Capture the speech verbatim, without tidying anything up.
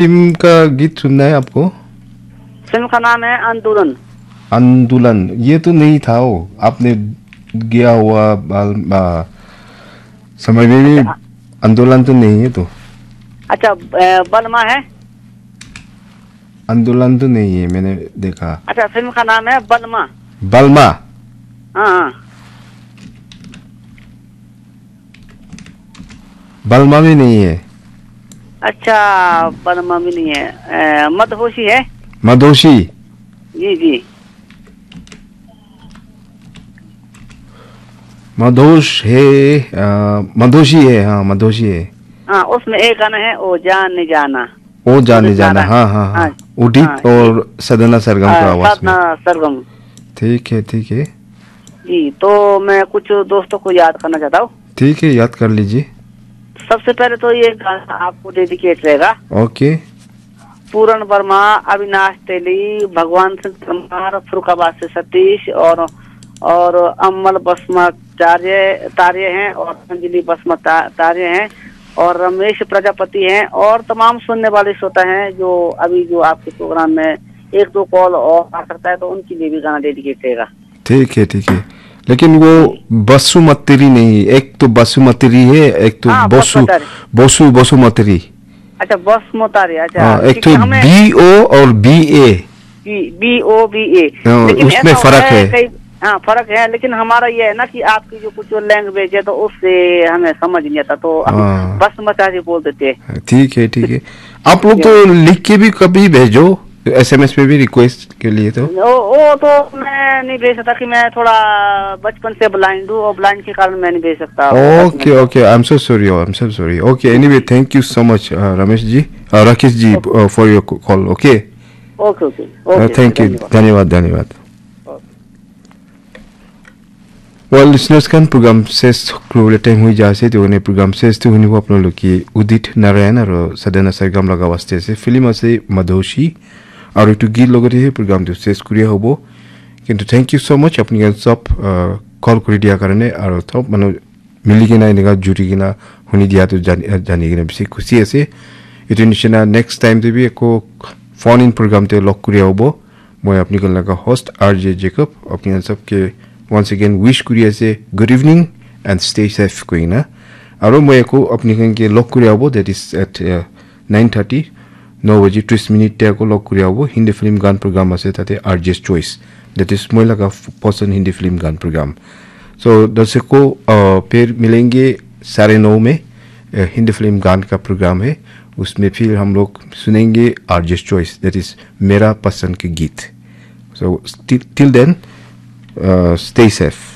फिल्म का गीत सुनना है आपको? फिल्म का नाम है आंदोलन। आंदोलन, ये तो नहीं था वो, आपने गया हुआ बाल, आ, समय में भी अच्छा। आंदोलन तो नहीं है तो। अच्छा, अ, बलमा है? आंदोलन तो नहीं है, मैंने देखा। अच्छा, फिल्म का नाम है बलमा। बलमा? हाँ, हाँ। बलमा भी नहीं है। अच्छा, बलमा भी नहीं है। अ, मदहोशी है? मदहोशी? जी, जी। मदहोश है, अ, मदहोशी है, हाँ, मदहोशी है। हाँ, उसमें एक गाना है, ओ जाने जाना। ओ जाने उदित जाना, नारायण। हाँ, हाँ, हाँ। हाँ, उदित हाँ, और साधना सरगम का हाँ, आवाज में। साधना सरगम। ठीक है, ठीक है। जी, तो मैं कुछ दोस्तों को याद करना चाहता हूँ। ठीक है, याद कर लीजिए। सबसे पहले तो ये गाना आपको डेडिकेट रहेगा। ओके। पूरन वर्मा, अविनाश तेली, भगवान सिंह परमार, फरुखाबाद से सतीश और, और अमल बसमाचार्य, तार्य हैं और अंजलि बसमा ता-, तार्य हैं और रमेश प्रजापति हैं और तमाम सुनने वाले श्रोता हैं जो अभी जो आपके प्रोग्राम में एक दो कॉल और आ सकता है, तो उनके लिए भी गाना डेडिकेट रहेगा। ठीक है, ठीक है। लेकिन वो बसुमतरी नहीं, एक तो बसुमतरी है, एक तो हाँ, बसु, बसुमतारी। बसु, बसुमतरी। अच्छा, बसुमतारी, अच्छा, हाँ, एक क्योंकि तो हमें बी ओ और बी ए। बी, बी ओ बी ए। हाँ, लेकिन उसमें ऐसा फर्क होता है है। कई, हाँ, फर्क है, लेकिन हमारा ये है ना कि आपकी जो कुछ लैंग्वेज है, तो उससे हमें समझ नहीं आता, तो हम हाँ। बसुमतारी बोल देते हैं। ठीक है, ठीक है। आप लोग तो लिख के भी कभी भेजो, एस एम एस पे भी रिक्वेस्ट के लिए तो। वो, वो तो मैं नहीं भेज सकता कि मैं थोड़ा बचपन से ब्लाइंड हूँ और ब्लाइंड के कारण मैं नहीं भेज सकता। Okay, okay, I'm so sorry, I'm so sorry। Okay, anyway, thank you so much, uh, रमेश जी, uh, राकेश जी, uh, for your call, okay? Okay, okay, Uh, okay, thank you, धन्यवाद। धन्यवाद, धन्यवाद। Well, listeners khan, program ses kuribole time hoi ja ase, to ene program ses to hunibo apnaloke Udit Narayan aro Sadhana Sargam laga waste ase, film ase Madoshi, aro etu git logote he program tu ses kuria hobo. Kintu thank you so much, apni khan sob, uh, call kuri dia karone, aro sob manu mili kena enika juri kena huni dia tu jani, jani kena bishi khushi ase. Etu nishina next time te bi eko phone in program te log kuria hobo. Moi apni khan laga host R J Jacob, apni khan sob ke once again wish kuri ase, good evening and stay safe koina. Aro moi eko apni khan ke log kuri abo, that is at, uh, nine thirty, no baji tris minute te ako log kuri abo, Hindi film gan program ase tate R J's Choice. That is moi laga f-, pasand Hindi film gan program. So, दर्शकों, uh, फिर मिलेंगे साढ़े नौ में, uh, हिंदी फिल्म गान का प्रोग्राम है, उसमें फिर हम लोग सुनेंगे R J's Choice, that is मेरा पसंद के गीत। So, till, till then, uh, stay safe।